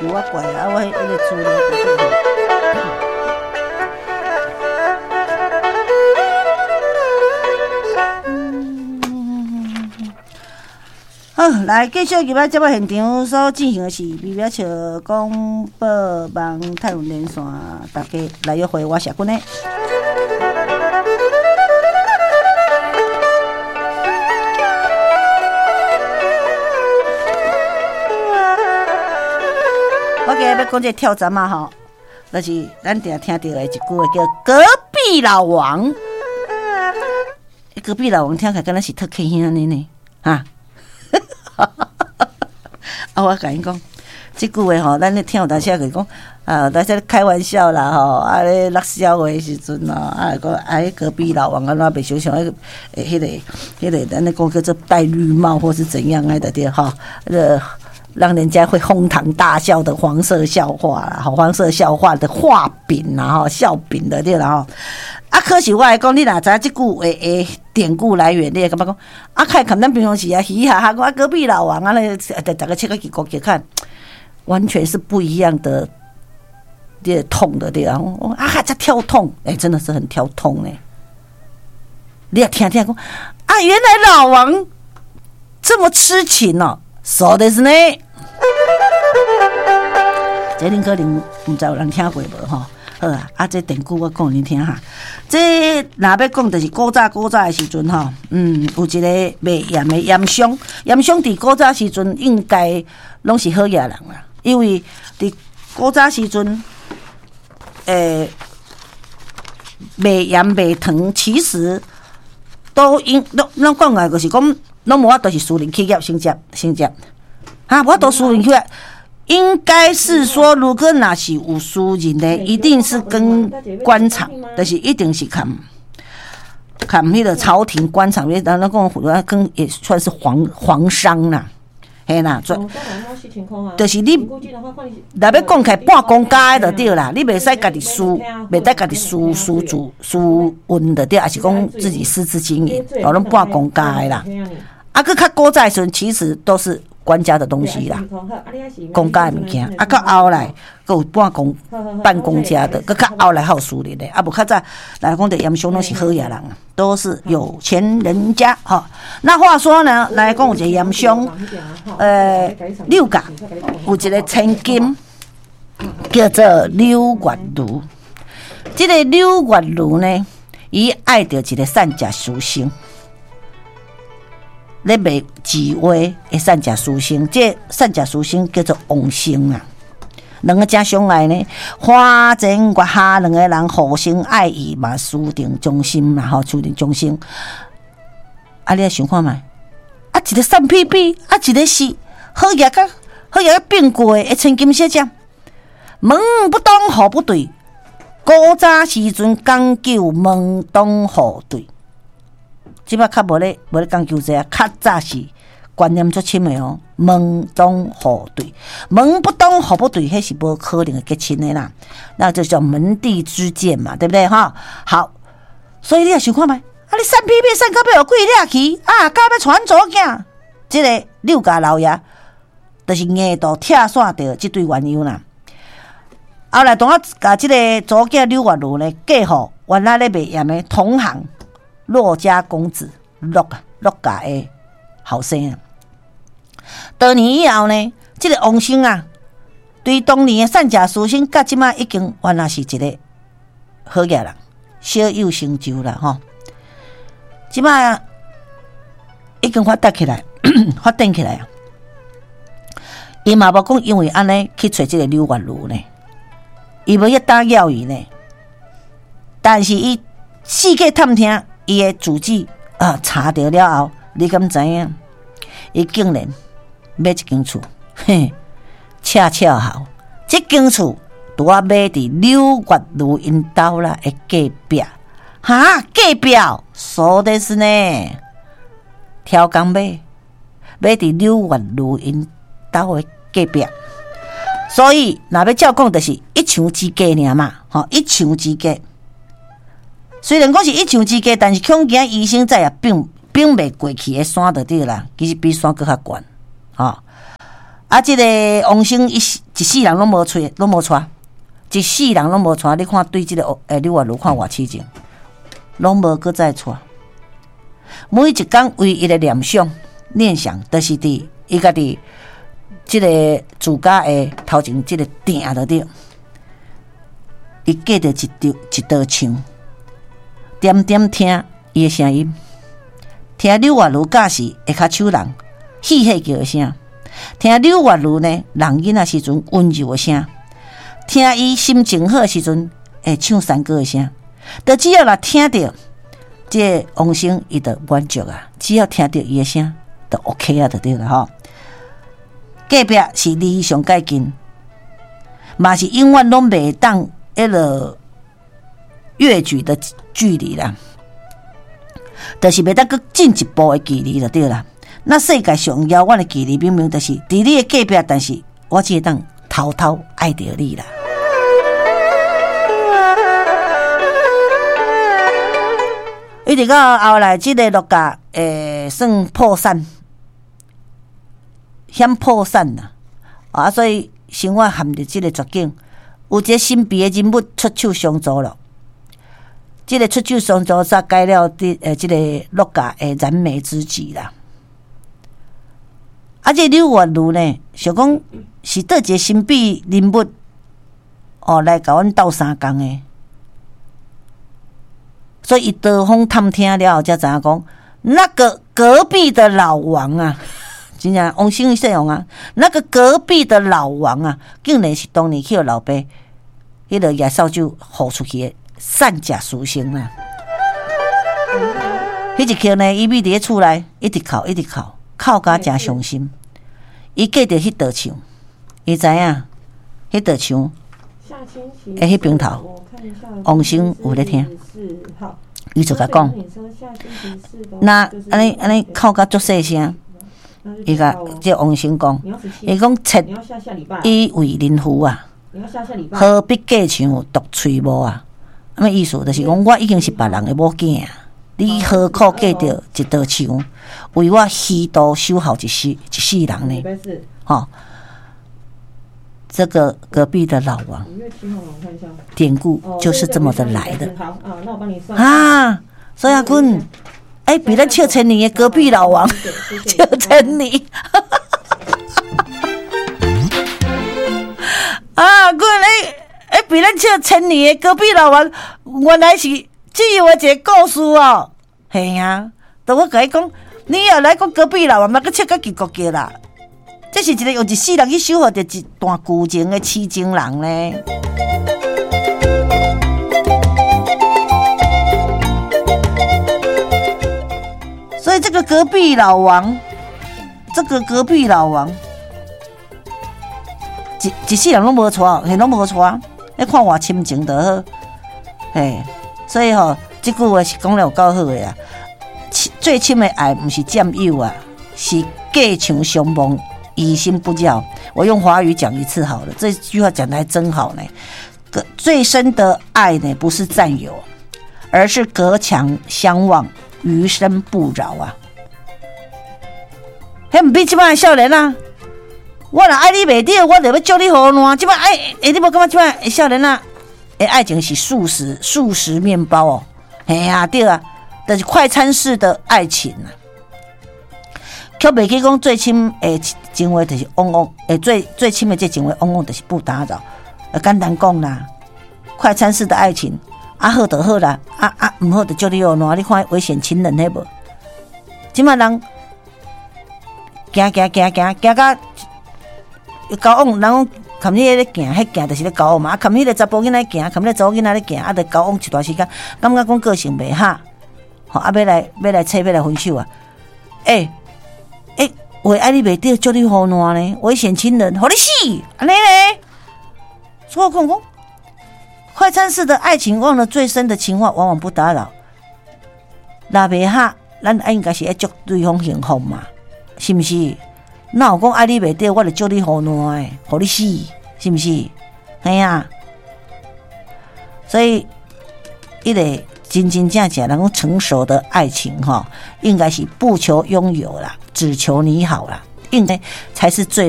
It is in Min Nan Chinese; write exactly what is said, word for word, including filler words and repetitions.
有我怪啊，我彼个資料。好，來繼續入來節目現場所進行的是微微笑廣播網泰文連線，大家來約會，我是阿君呢。我今日欲講這個跳閘仔吼，就是咱定聽著的一句話叫隔壁老王。隔壁老王聽起來敢若是特客兄呢呢，哈？啊！我共𪜶講，這句話吼，咱咧聽有當時就講啊，大家開玩笑啦吼，啊咧落笑話的時陣吼，啊講啊，隔壁老王按怎袂想像彼個彼個彼個，咱咧講叫做戴綠帽或是怎樣啊，對吼，呃，讓人家會哄堂大笑的黃色笑話啦，吼，黃色笑話的畫餅啦，吼，笑柄的對啦吼。啊，可是我來講，你若知影這句話的典故來源，你會感覺講，啊，較會咱平常時啊，嘻嘻哈哈講啊，隔壁老王啊，咧，逐個切個去國去看，完全是不一樣的，這痛的對啊，啊，這跳痛，欸，真的是很跳痛呢。你也聽聽講，啊，原來老王這麼痴情哦，そうですね。這恁可能毋知有人聽過無吼？好啊，啊，這典故我講予恁聽哈。這若欲講，就是古早古早的時陣吼，嗯，有一個賣鹽的鹽商，鹽商佇古早時陣應該攏是好額人啦，因為佇古早時陣，欸，賣鹽賣糖，其實都應攏攏講來就是講，攏無法度是私人企業先接先接，哈，無法度私人企業。應該是說，如果若是有私人的，一定是跟官場，就是一定是含含彼個朝廷官場，因為咱講跟也算是皇皇商啦，嘿啦，就是你若欲講起來半公家的就對啦，你袂使家己私，袂使家己私私自私運就對，還是講自己私自經營，哦，攏半公家的啦。啊，閣較古早的時陣，其實都是官家的東西啦，公家的物件。啊，到後來，閣有半公半公家的，閣較後來還有私人的。啊，無較早來講，的鹽商攏是好額人，都是有錢人家吼。那話說呢，來講有一個鹽商，呃，柳家有一個千金，叫做柳月如。這個柳月如呢，伊愛著一個散食書生。咧賣字畫的散食書生，這散食書生叫做王生啊。兩个真相愛呢，花前月下兩个人互相愛意嘛，私定終身啦，吼，私定終身。啊，你來想看覓？啊，一個散屁屁，啊，一個是好額甲好額甲變過的千金小姐，門不當戶不對，古早時陣講究門當戶對。這擺較無咧，無咧講究這啊，較早是觀念足深的哦。門當戶對，門不當戶不對，彼是無可能會結親的啦。那就叫門第之見嘛，對不對哈？好，所以你也想看覓？啊，你散屁屁散到欲予鬼掠去，啊，敢欲娶阮查某囝？這個柳家老爺就是硬度拆散著這對鸳鸯啦。後來當我共這個查某囝柳月如呢，嫁予原來咧賣鹽的同行。駱家公子，駱駱家的後生啊。多年以後呢，這個王生啊，對當年的散食書生，到這擺已經原來是一個好額人，小有成就啦吼。這擺已經發達起來，發展起來啊。伊嘛無講因為按呢去揣這個柳月如呢，伊無去打擾伊呢。但是伊四界探聽。伊的住址啊，查著了後，你敢知影？伊竟然買一間厝，嘿，恰巧好，這間厝拄仔買佇柳月如𪜶兜啦的隔壁，哈，隔壁，そうですね，超工買，買佇柳月如𪜶兜的隔壁，所以若欲照講，就是一牆之隔爾嘛，吼，一牆之隔。雖然講是一牆之隔，但是恐驚醫生再也並並袂過去的山就對啦，其實比山閣較懸，吼。啊，這個王生伊一世人攏無揣，攏無娶，一世人攏無娶。你看對這个欸柳月如看偌痴情，攏無閣再娶。每一工唯一的念想，念想，就是佇伊家己這个自家的頭前這个埕內底，伊隔著一道一道牆，點點聽伊的聲音，聽柳月如教時下跤手人戲戲叫的聲，聽柳月如呢弄囡仔時陣溫柔的聲，聽伊心情好的時陣會唱山歌的聲，就只要若聽著這个王生，伊就滿足啊！只要聽著伊的聲，就 OK 啊，就對啦吼。隔壁是離上蓋近，嘛是永遠攏袂當彼落越舉的距離啦，就是袂當閣進一步的距離就對啦。那世界上遙遠的距離，明明就是佇你的隔壁，但是我只會當偷偷愛著你啦。一直到後來，這个陸家會算破產，險破產啦，啊，所以生活陷入這个絕境。有一个神秘的人物出手相助了，這个出手相助才解了佇呃這个陸家的燃眉之急啦。啊，這个柳月如呢，想講是佗一个神秘人物哦，來共阮鬥相共的。所以，伊多方探聽了後，才知影講，那個隔壁的老王啊，真正王生姓王啊，那個隔壁的老王啊，竟然是當年去予老爸彼个野掃帚予出去的散食書生啊！彼一刻呢，伊覕佇咧厝內，一直哭，一直哭，哭甲誠傷心。伊隔著彼道牆，伊知影彼道牆的彼邊頭，王生有咧聽。伊就共講，那按呢按呢哭甲足細聲，伊共這王生講，伊講妾已為人婦啊，何必隔牆獨吹幕啊？啥物意思？就是講我已經是別人的某囝啊，你何苦隔著一道牆，為我虛度守候一世一世人呢？吼！這個隔壁的老王，典故就是這麼的來的啊！所以阿君，欸，比咱笑千年的隔壁老王笑千年，啊，君，欸欸，比咱笑千年的隔壁老王，原來是這樣的一個故事哦。嘿啊，都我共你講，你若來講隔壁老王嘛，閣笑甲結國叫啦。這是一個用一世人去守護著一段舊情的痴情人呢。所以這個隔壁老王，這個隔壁老王，一一世人攏無娶，嘿，攏無娶，你看偌深情就好，嘿，所以吼，這句話是講了有夠好的啊。最深的愛毋是佔有啊，是隔牆相望。於心不擾。我用華語講一次好了，這句話講得還真好呢。最深的愛呢，不是佔有，而是隔牆相望，餘生不擾啊。彼毋比這擺少年啊，我若愛你袂著，我就欲祝你予爛。這擺愛，欸，你無感覺這擺少年啊？的愛情是速食速食麵包哦，嘿啊對啊，就是快餐式的愛情啊。卻袂記講最深的情話就是往往，欸，最最深的這情話往往就是不打擾。簡單講啦，快餐式的愛情，啊好就好啦，啊啊毋好就祝你予爛。你看危險情人彼無？這擺人行行行行行到交往，人講含彼个咧行，彼行就是咧交往嘛。啊，含彼个查埔囡仔行，含彼个查某囡仔咧行，啊，就交往一段時間，感覺講個性袂合，吼啊，欲來欲來揣欲來分手啊！欸欸，話愛你袂著，祝你予爛呢？危險情人，予你死，按呢咧？所以我講講，快餐式的愛情，忘了最深的情話，往往不打擾。若袂合，咱應該是愛祝對方幸福嘛，是毋是？哪有講愛你袂著，我就祝你予爛的，予你死，是毋是？嘿啊！所以，彼个真真正正，人講成熟的愛情，吼，應該是不求擁有啦，只求你好啦，應該才是最。